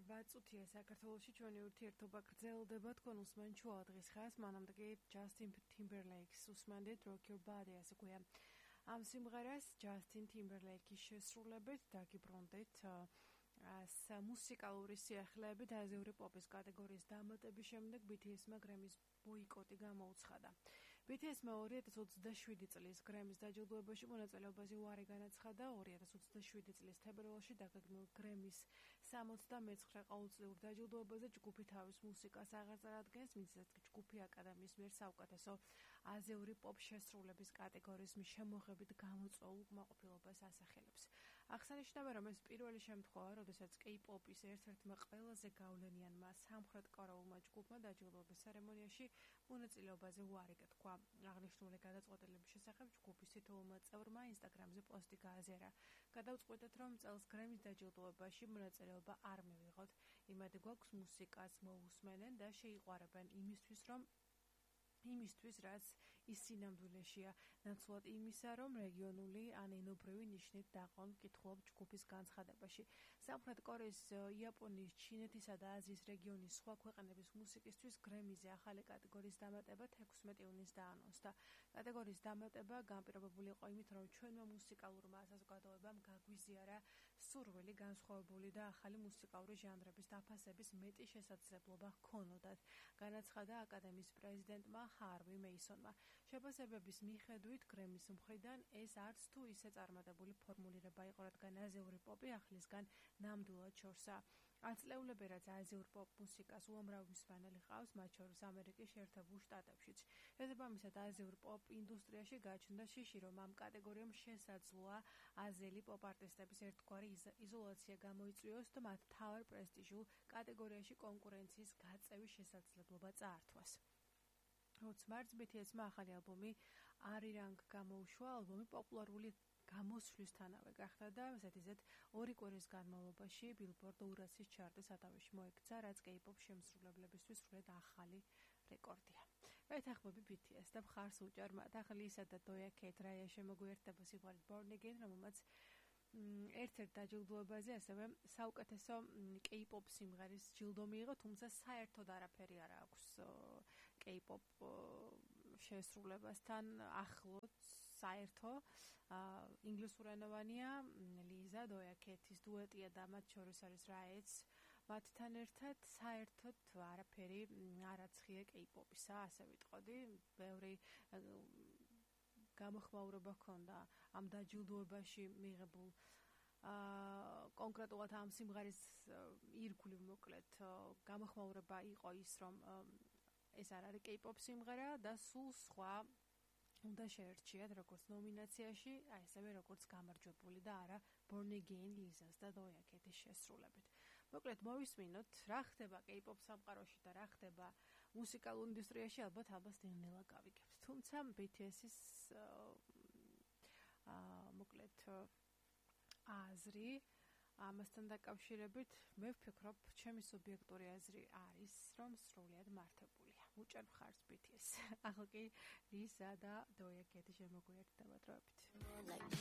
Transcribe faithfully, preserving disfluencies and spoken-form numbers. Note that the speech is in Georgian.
ორმოცდაარბაათ წუთია საქართველოში ჩვენი ურთიერთობა გრძელდება თქვენ უსმენ ჩუა დღის ხას მანამდე კი ჯასტინ ტიმბერლეიქს უსმენდით Rock Your Body ასე ქვია ამ სიმღერას ჯასტინ ტიმბერლეიქის შესრულებით დაგიბრუნდით მუსიკალური სიახლეებით აზიური პოპის კატეგორიის დამატების შემდეგ ბი თი ეს-მა გრემის ბოიკოტი გამოუცხადა. ბი თი ეს-მა ორი ათას ოცდაშვიდი წლის გრემის დაჯილდოებაში მონაწილეობაზე უარი განაცხადა. ორი ათას ოცდაშვიდი წლის თებერვალში დაგეგმილ გრემის სამოცდამეცხრე ყოველწლიურ დაჯილდოებაზე ჯგუფი თავის მუსიკას აღარ წარადგენს, მისცეს ჯგუფი აკადემიის მიერ საუკეთესო აზიური პოპ შესრულების კატეგორიის შემოღებით გამოწვეულ უკმაყოფილებას ასახელებს. აღსანიშნავია, რომ ეს პირველი შემთხვევა, როდესაც კეი-პოპის ერთ-ერთმა ყველაზე გავლენიანმა სამხრეთ კორეულმა ჯგუფმა დაჯილდოების ცერემონიაში მონაწილეობაზე უარი გათქვა. აღნიშნული გადაწყვეტილების შესახებ ჯგუფის თითოეულმა წევრმა ინსტაგრამზე პოსტი გააზიარა. გადავწყვიტეთ, რომ წელს გრემის დაჯილდოებაში მონაწილეობა არ მივიღოთ. იმედი გვაქვს მუსიკას მოусმენენ და შეიყვარებენ იმისთვის, რომ იმისთვის, რაც ის სინამდვილეშია, ნაცვლად იმისა, რომ რეგიონული ან ენობრივი ნიშნით დაყრდნ კითხულობ ჯგუფის განცხადებაში. სამხრეთ კორეის, იაპონიის, ჩინეთისა და აზიის რეგიონის სხვა ქვეყნების მუსიკისთვის გრემიზე ახალი კატეგორიის დამატება თექვსმეტი ივნისს დაანონსდა. კატეგორიის დამატება განპირობებული იყო იმით, რომ ჩვენმა მუსიკალურმა საზოგადოებამ გაგვიზიარა სურვილი განსხვავებული და ახალი მუსიკალური ჟანრების დაფასების მეტი შესაძლებლობა ჰქონოდათ, განაცხადა აკადემიის პრეზიდენტმა ჰარვი მეისონმა. შეფასებების მიხედვით გრემის მხრიდან ეს არც თუ ისე წარმატებული ფორმულირება იყო, რადგან აზიური პოპი ახლისგან ნამდვილად შორსაა. ათწლეულები, რაც აზიურ პოპ მუსიკას უამრავი მსმენელი ჰყავს, მათ შორის ამერიკის შეერთებულ შტატებშიც. შესაბამისად, აზიურ პოპ ინდუსტრიაში გაჩნდა შიში, რომ ამ კატეგორიამ შესაძლოა აზიელი პოპ არტისტების ერთგვარი იზოლაცია გამოიწვიოს და მათ მთავარ პრესტიჟულ კატეგორიაში კონკურენციის გაწევის შესაძლებლობა წაართვას. ოც მარტს ბი თი ეს-მა ახალი ალბომი „Arirang“ გამოუშვა. ალბომი პოპულარული გამოსვლისთანავე გახდა და ზედიზედ ორი კვირის განმავლობაში Billboard ორასის ჩარტის სათავეში მოექცა, რაც კეი-პოპ შემსრულებლებისთვის სრულიად ახალი რეკორდია. ვეთანხმები ბი თი ეს და მხარს უჭერ მათ. ახლა ისა და დოია კეით რაია შემოგვიერთდება სიმღერით Born Again, რომელმაც ერთ-ერთ დაჯილდოებაზე ასევე საუკეთესო კეი-პოპ სიმღერის ჯილდო მიიღო, თუმცა საერთოდ არაფერი არ აქვს კეი-პოპ შესრულებასთან ახლოს საერთო. ინგლისურენოვანია ლიზა დოია კეითის დუეტია და მათ შორის არის რაიც. მათთან ერთად საერთოდ არაფერი არ აცხია კეი-პოპისა, ასე ვიტყოდი. ბევრი გამოხმაურება ჰქონდა ამ დაჯილდოებაში მიღებულ კონკრეტულად ამ სიმღერის ირგვლივ მოკლედ გამოხმაურება იყო ის, რომ ეს არ არის კეი-პოპ სიმღერა და სულ სხვა უნდა შეერჩიათ როგორც ნომინაციაში, აი ესევე როგორც გამარჯვებული და არა Born Again ლიზას და დოია კეითის შესრულებით. მოკლედ მოვისმინოთ, რა ხდება კეი-პოპ სამყაროში და რა ხდება მუსიკალურ ინდუსტრიაში, ალბათ ალბათ ნელ-ნელა გავიგებთ. თუმცა ბი თი ეს-ის აა მოკლედ აზრი ამასთან დაკავშირებით მე ვფიქრობ, ჩემი სუბიექტური აზრი არის, რომ სრულიად მართებულია. უჭერ მხარს ბი თი ეს. ახლა კი ლიზა და დოია კეითი შემოგვიერთდება დროებით.